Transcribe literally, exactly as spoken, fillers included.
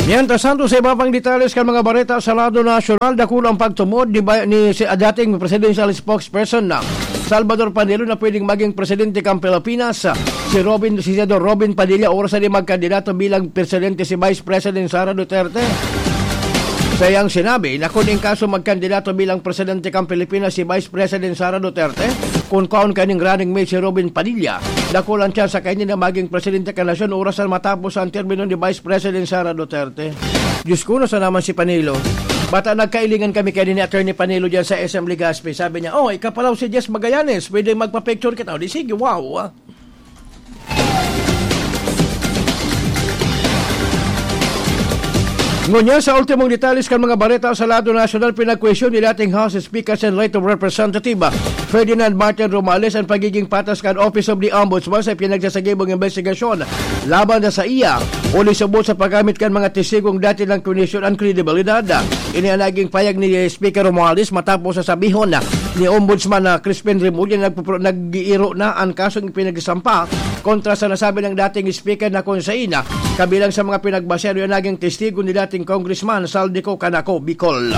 Mientras tanto, sa iba pang detalles kan mga bareta sa lado nasyonal, dakula ang pagtumod ni, ba- ni si, dating presidential spokesperson na Salvador Panelo na pwedeng maging presidente kan Pilipinas, si Robin, si Senador Robin Padilla, oras na magkandidato bilang presidente si Vice President Sara Duterte. Sa iyang sinabi na kung in kaso magkandidato bilang presidente kan Pilipinas si Vice President Sara Duterte, kung kaon kaning running mate si Robin Padilla, dakulang tsansa kaini na maging presidente kan nasyon oras na matapos ang termino ni Vice President Sara Duterte. Diyos ko, nasa naman si Panelo? Bata, nagkailingan kami kaini ni Attorney Panelo diyan sa S M Legazpi. Sabi niya, "Oh, ikaw pa raw si Jess Magallanes, pwede magpa-picture kita." O, di sige, wow, ah. Ngunyan, sa ultimong detalles kan mga bareta sa lado nasyonal, pinagkwestiyon ni dating House Speaker Sen Leto Representative Ferdinand Martin Romualdez ang pagiging patas kan Office of the Ombudsman sa pinagsasagibong investigasyon laban na sa iya, huli subot sa paggamit kan mga testigong dati nang kondisyon an kredibilidad. Ini ang naging payag ni Speaker Romualdez matapos sa sabihon ni Ombudsman na Crispin Remulla na nagpupro-, nag-iiro na ang kasong ipinagsampa kontra sa nasabi ng dating speaker na kung sain kabilang sa mga pinagbasehan na naging testigo ni dating Congressman Zaldy Co Canaco, Bicol.